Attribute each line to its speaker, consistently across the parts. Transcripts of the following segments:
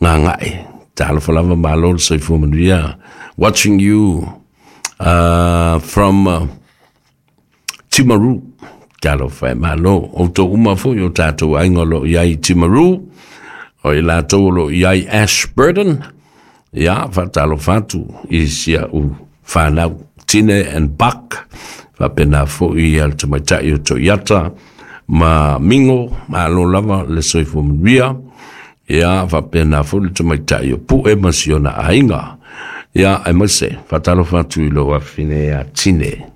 Speaker 1: Gagae. Talofa lava, malo le soifua manuia. Watching you from Timaru. Talofa e malo. Outou uma foi o tātou aiga o lo o i ai i Timaru, o i latou o lo o i ai Ashburton. Ia, faatalofa atu i si a'u fanau, Tine and Buck, faapena foi ia le tamaitai o Toiata ma Mingo, malo lava le soifua manuia. Ia, faapena foi le tamaitai o Pue ma si ona aiga. Ia, aemaise, faatalofa atu i lou afafine ia Tine.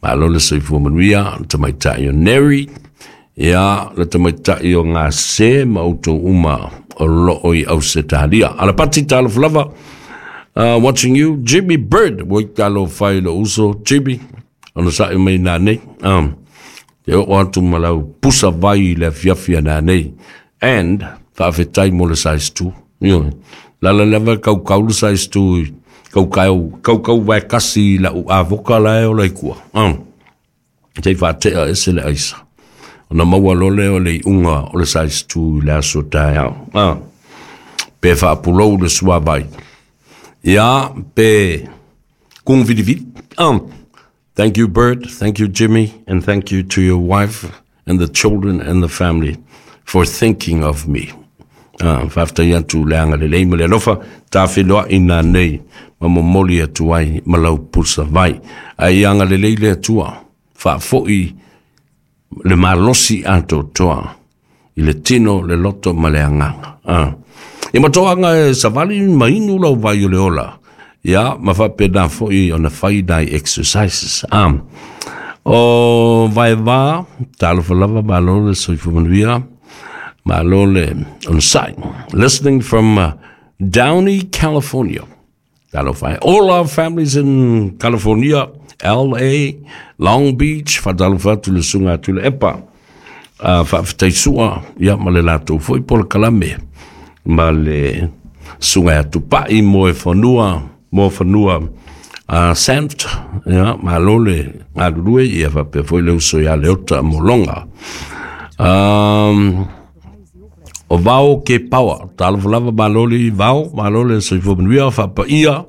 Speaker 1: Malo le soifua manuia, le tamaitai o Neri, ia, le tamaitai o Gase ma outou uma o loo i Ausetalia. Alapati, talofa lava. Watching you, Jimmy Bird, ua talofa i lou uso, Jimmy, ona sa'i mai nanei. Te oo atu ma lau pusa vai i le afiafi a nanei. And, faafetai mo le size 2. Ioe. Lala lava kaukau le size 2 i kaukau, kaukau vae kasi i lau avoka la e ola i kua. Te i faatea ese le aisa. Ona maua loa lea o le iuga o le size 2 i le aso taeao. Pe faapulou le suavai. Ia, pe kugu vilivili. Thank you, Bird. Thank you, Jimmy. And thank you to your wife and the children and the family for thinking of me. Faafetai atu le agalelei ma le alofa tafeloai nanei ma momoli atu ai ma lau pusa vai. Ae ia agalelei le Atua, faafoi le malosi atoatoa i le tino, le loto ma le agaga. Ia matoaga e savali ma inu lau vai o le ola. Ia, ma faapena foi ona fai nai exercises. O Vaeva, talofa lava, malo le soifua manuia, malo le onosai. Listening from Downey, California. Talofa e. All our families in California, LA, Long Beach, faatalofa atu le susuga a Tuilaepa. Faafetai sua, ia ma le latou foi polokalame ma le susuga ia Tupai mo e fanua, mo fanua Sant, ia, malo le galulue, ia faapea foi le uso ia Leota Molonga. O Vao ke Pawa, talofa lava, malo le Vao, malo le soifua manuia, faapaia,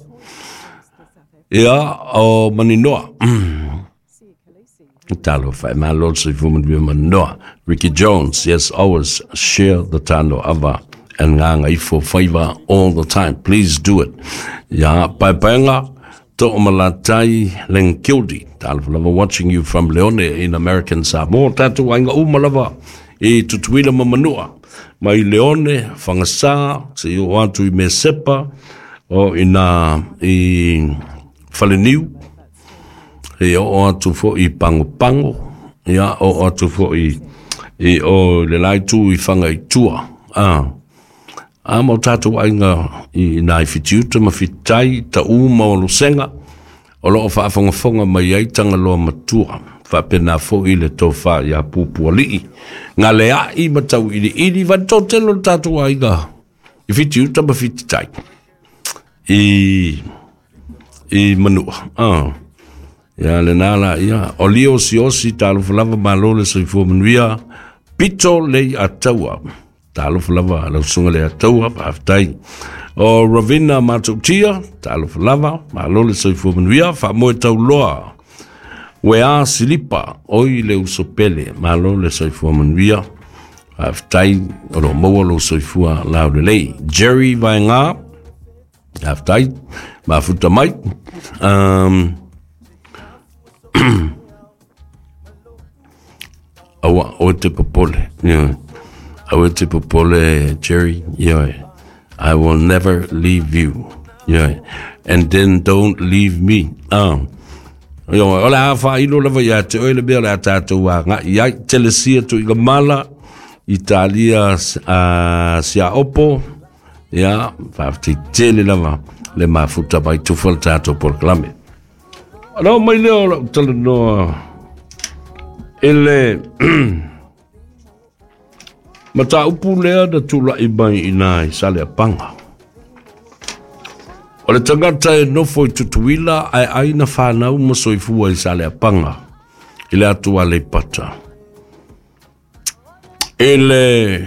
Speaker 1: ia, o Maninoa. Talofa e, malo le soifua manuia Maninoa. Ricky Jones, yes, always share the Tano Ava and Gagaifo Faiva all the time. Please do it. Ia, paepaega, To'omalatai Lengildi. Talofa lava, watching you from Leone in American Samoa. Tātou aiga uma lava i Tutuila ma Manua. Mai Leone, Fagasa, se i oo atu i Mesepa, o ina i Faleniu, e oo atu foi i Pagopago, ia, oo atu foi i o le la itu i Fagaitua. A ma o tātou aiga i nā i Fitiuta ma Fititai, Taʻu ma Olosega, o loo faafogafoga mai ai Tagaloa Matua, faapena foi le tofa ia Pupualii, Galeai ma Tauiliili, va le toatele o le tatou aiga i Fitiuta ma Fititai i Manua. Ia lena la ia. O Lio Siosi, talofa lava, malo le soifua manuia. Pito lei ataua. Talofa lava lau susuga le ataua, faafetai. O Ravina Matautia, talofa lava, malo le soifua manuia, faamoe tauloa. Uea Silipa, oi le uso pele, malo le soifua manuia. Faafetai o lo maua lou soifua laulelei. Jerry Vaenga, faafetai, mafuta mai. Aua, oe te popole. Yeah. Aua te popole, Jerry. Yeah. I will never leave you. Yeah. And then don't leave me. Yo, o le a whailo lava ia te oe le mea o le a tātou a ngā i ai. Telesia tu i ka mala, Italia sia opo, ia, whaafetai tele lava le mafuta mai tufa le tātou polokalame. Ona oo mai lea o lau talanoa i le mataupu lea na tulai mai i nā i Saleapaga. O le tagata e nofo i Tutuila ae ai na fanau ma soifua i Saleapaga i le atu Aleipata. I le